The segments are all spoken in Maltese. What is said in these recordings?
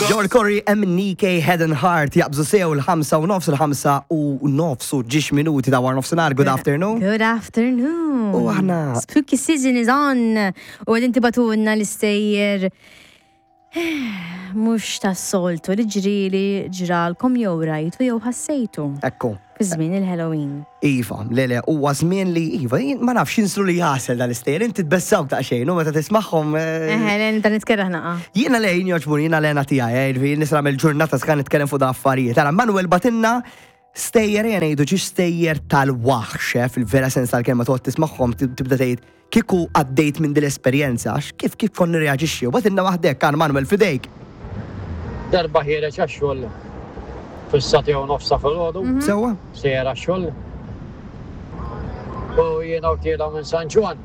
Joel Corry, MNK, Head and Heart jaqbżu sew il-5 u nofs, il-5 u nofs u ġiex minuti ta' war nofsinhar. Good afternoon. Good afternoon. U aħna. Spooky season is on. U għedin tibatunna l-istejjer mux tas-soltu li ġrili ġralkom jew rajtu jew ħassejtu. Ekku. Fi żmien il-Halloween. Iva, le le, huwa żmien li iva, jien ma nafx jinslu li jagħsel dal-istejjer, inti tbessawk daqsxejn u meta tismagħhom. Eh, Eħe, le nibda nitkerraħ naqa. Jiena le jien jogħġbuni, jiena l-għena tiegħi, eh, jiġifieri nista' nagħmel ġurnata skan nitkellem fuq da affarijiet. Ara, Manuel batinna stejjer ejja ngħidu ġiex stejjer tal-waħx, eh, fil-vera sens tal-kelma toqgħod tismagħhom tibda tgħid Kieku għaddejt minn dil-esperjenza, kif kif kont nirreaġixxi? U bagħtilna waħda hekk, Għan Manuel f'idejk! Darba ħiereġ għax-xogħol fis-sagħtejn u nofs ta' filgħodu. Sewwa. Sejjer għax-xogħol. U jiena u tiela' minn San Ġwann.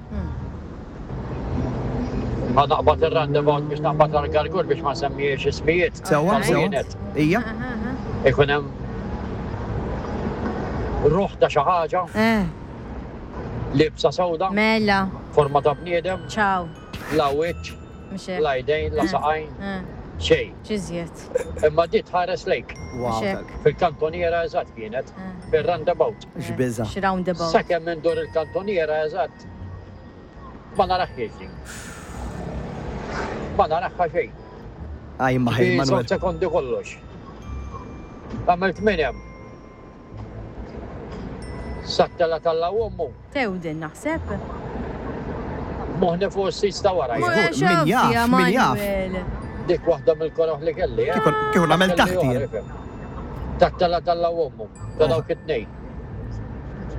Ħa naqbad ir-roundabout biex naqbad għall-Gargur biex ma nsemmijiex ismijiet. Sewwa, sewwa. Ija. Ikun hemm ruħ ta' xi ħaġa. Eh. Liebsa sewda. Mela. Forma ta' bniedem. Ciao. La wiċċ. Mhux hekk. La jdejn, la saqajn. Eh. Xejn. X'iżjed. Imma di tħares lejk. Wow. Fil-kantoniera eżatt kienet. Eh. Fir-roundabout. X'biża'. X'roundabout. Sakemm indur il-kantoniera eżatt ma naraħħiex din. Ma naraħħa xejn. Aj ma ħej Manuel. Sekondi kollox. Għamilt minn hemm. Sattela talla u ommu. Tewdin naħseb. Moħni fuq is-sis ta' wara. Min jaf, min jaf. Dik waħda mill-koroħ li kelli. Eh? Kieku nagħmel taħti. Tattela talla u ommu. Ta' dawk it-tnejn.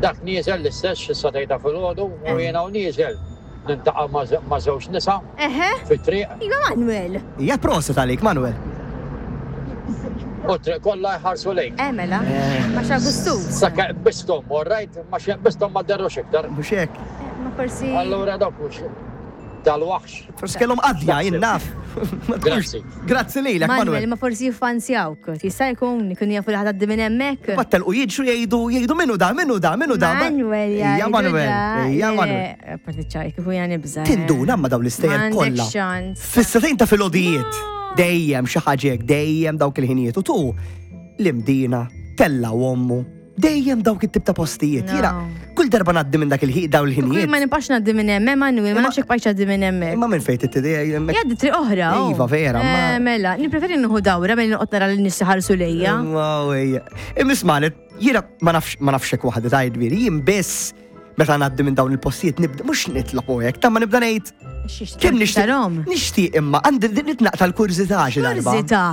Dak nieżel l-istess xi satejta filgħodu u jiena u nieżel. Nintaqa' ma' żewġ nisa fit-triq. Iva Manuel. Hija proset għalik Manuel. U t-triq kollha jħarsu lejk. Eh mela. Ma x'Agustus. Sakemm qbisthom, all right, ma xi qbisthom ma derrux iktar. Mhux hekk. Ma forsi. Allura dawk mhux tal-waħx. Forsi kellhom qadja, jien naf. Grazzi. Grazzi lilek, Manuel. Manuel, ma forsi jiffansjawk. Jista' jkun ikunu jafu li ħa tgħaddi minn hemmhekk. Mbagħad telqu jiġru jgħidu jgħidu min hu da, min hu da, min hu da. Manuel Ija Manuel, ija Manuel. Parti ċaj, kieku jiena nibża'. Tinduna ma dawn l-istejjer kollha. Fis-sagħtejn ta' filgħodijiet. Dejjem xi ħaġa hekk, dejjem dawk il-ħinijiet. U tu l-Imdina, tella' ommu. Dejjem dawk it-tip ta' postijiet. Jiena kull darba ngħaddi minn dak il-ħin dawn il-ħinijiet. Ma nibqax ngħaddi minn hemm, Emanuel, ma nafx jekk bqajtx ngħaddi minn hemmhekk. Imma minn fejn tittiedi hemmhekk? Jgħaddi triq oħra. Oh. Iva, vera. Eh, mela, nippreferi nieħu dawra milli noqgħod nara lin-nies iħarsu lejja. Imma isma' jiena ma nafx ma nafx hekk waħda ta' jiġifieri, jien biss meta ngħaddi minn dawn il-postijiet nibda mhux nitlob u hekk, ta' ma nibda ngħid kemm nixtieq. Nixtieq imma għandi nitnaqta l-kurżità xi darba. Kurżità.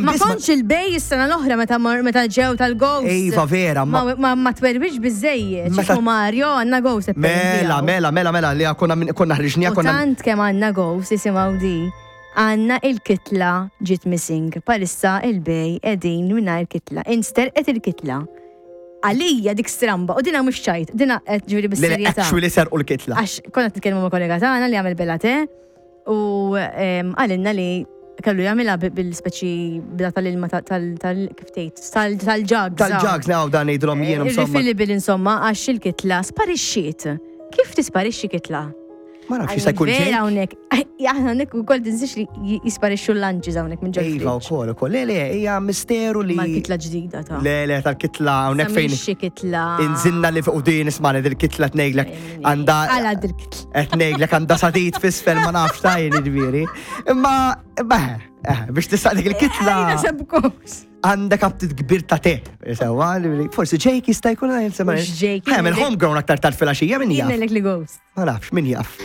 Ma kontx il-bej is-sena l-oħra meta meta ġew tal-ghost. Iva vera, ma ma twerwix biżejjed. Meta Mario għandna ghost. Mela, mela, mela, mela li konna konna ħriġnija konna. Tant kemm għandna ghost isimgħu di. Għandna il-kitla ġiet missing. Palissa il-bej qegħdin mingħajr kitla. Insterqet il-kitla. Għalija dik stramba, u dina mhux ċajt, dina qed ġifieri bis-serjetà. Actually serqu l-kitla. Għax konna nitkellmu ma' kollega tagħna li għamel bella te u qalilna li kellu jagħmilha bil-speċi bla tal-ilma tal kif tgħid tal-ġags. Tal-ġags naw dan ngħidulhom jien insomma. Refillable insomma għax il-kitla sparixxiet. Kif tisparixxi kitla? Ma nafx jista' jkun Vera hawnhekk. Aħna hawnhekk ukoll tinsiex li jisparixxu l-lanċis hawnhekk minn ġol. Iva wkoll ukoll. Le le hija misteru li. Mal-kitla ġdida ta' Le le tal-kitla hawnhekk fejn. Xi kitla. Inżilna li fuq din isma' li dil-kitla tnejlek għandha. Għala dil-kitla. Qed ngħidlek għandha sadid f'isfel ma nafx ta' jien jiġifieri. Imma eh, biex tistaq dik il-kitla. Għandek aptit kbir ta' te. Sewa, forsi Jake jista' jkun għajn sema. Jake. Ħemel homegrown aktar tard fil-għaxija min jaf. Jien li ghost. Ma nafx, min jaf.